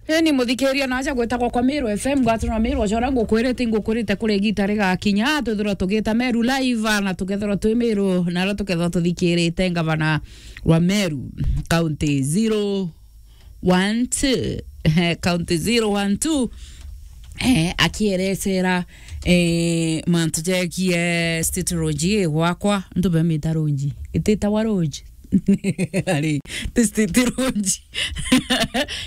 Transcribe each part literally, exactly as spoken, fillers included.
Eni muthikiria, naja gwitagwa kwa Meru F M, ngwatwa na Meru, ojora ngukwirite, ngukwirite kuri igita rigakinya, twithirwa tugita Meru live, na tukethirwa twi Meru, na aria tukethirwa tuthikirite ngavana wa Meru, county zero one two, eh, county zero one two, eh, akierecera, eh, mantu jegie State Lodge ii gwakwa, ntu bemita Lodge, ititawa Lodge. Ari, ti State Lodge.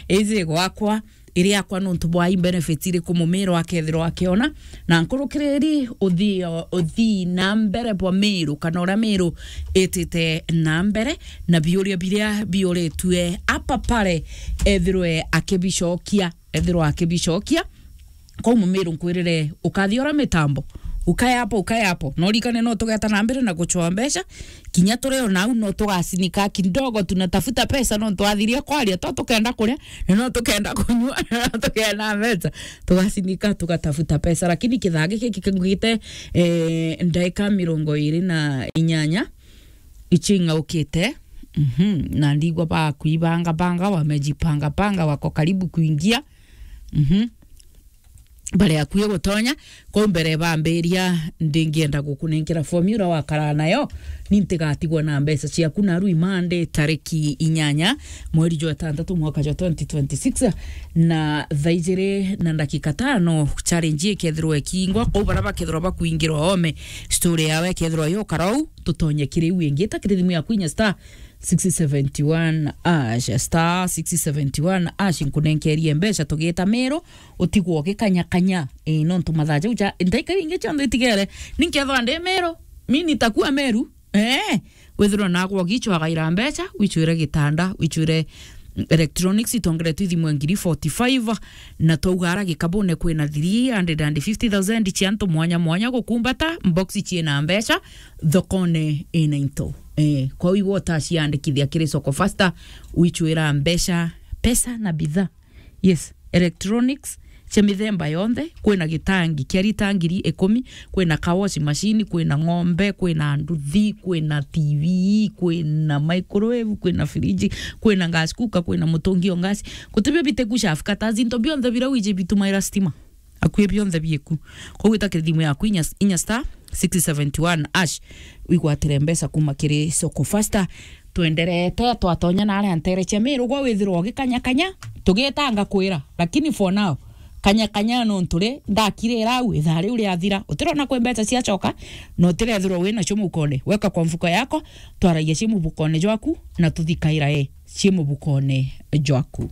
Iji gwakwa, iri yakwa nontu bwa i benefits iriku Mumiru akethirwa akiona, na nkurukiriri uthii, uthii na mbere bwa Miru, kana uria Miru itite na mbere, na biuria biria biuritue apa pare ethirwe akibicokia, ethirwa akibicokia. Kwou Mumiru nkwirire, ukathia uria mitambo, ukae hapo, ukae hapo. Na urikane no tugeta na mbere na gucwa mbeca, kinya turi o nau no tugasinika kidogo, tunatafuta pesa, no twathiria kwaria, to tukenda kuria, na no tukenda kunyua, na no tukenda mbeca, tugasinika, tugatafuta pesa. Lakini kithaa giki kigite, eh, ndaika mirongo iri na inyanya, icio ing'aukite. Mhm. Na ndigwa bakuibanga banga, wamejipanga panga, wako karibu kuingia. Mhm. Bari akui gutonya, kwou mbere bambiria, ndingienda gukunenkera formula wakaraa nayo, ni ntigatigwa na mbeca ciaku naru i Monday tariki inyanya mweri jwa itantatu mwaka jwa twenty twenty-six, na thaa ijiri na ndakika tano challenge ikethirwa ikingwa, kwou baria bakethirwa bakuingira oome, story yawe ikethirwa yokara ou, tutonye kiri iu ingi. Ita kiri thimu yaku inya star six seventy one hash, star six seventy one hash, nkunenkerie mbeca tugita Miru, utigwo ugikanyakanya. Ii, nontu mathaa jau ja, ndaika ingi cionthe itigere, ni nkethwa ndi Miru, mi nitakuwa Miru. Ee, withirwa nagwa ugichwagaira mbeca, wichwire gitanda, wichwire electronics, itongeretwe ithimwe ngiri forty five, na twauga ara gikabune kwina three hundred and fifty thousand cia antu mwanya mwanya gukumbata, box ciina mbeca, thokone ina into. Eh, kwou igwe utaciandikithia kiri Soko Faster, wichwira mbeca, pesa na bidhaa. Yes, electronics cia mithemba yonthe, kwina gitangi kia rita ngiri ikumi, kwina ka washing machine, kwina ng'ombe, kwina nduthi, kwina T V, kwina microwave, kwina fridge, kwina gas cooker, kwina mutungi o gas. Gutibio biteku shafu kata into bionthe bira wiji bitumaira stima. Akui bionthe bieku. Kwou ita kiri thimu yaku inya, inya star six seventy one hash, wigwatire mbeca kuma kiri Soko Faster. Twenderete, twatonya na aria ntere cia Miru, gwa withirwa ugikanyakanya, tugitanga kwira. Lakini for now, kanyakanya nontu ri, ndakirira au, ithaa riu riathira. Utirona kwi mbeca ciacoka, na utirethirwa winacio mukone. Weka kwa mfuko yako, twaragia ci mubukone jwaku, na tuthikaira e ci mubukone jwaku.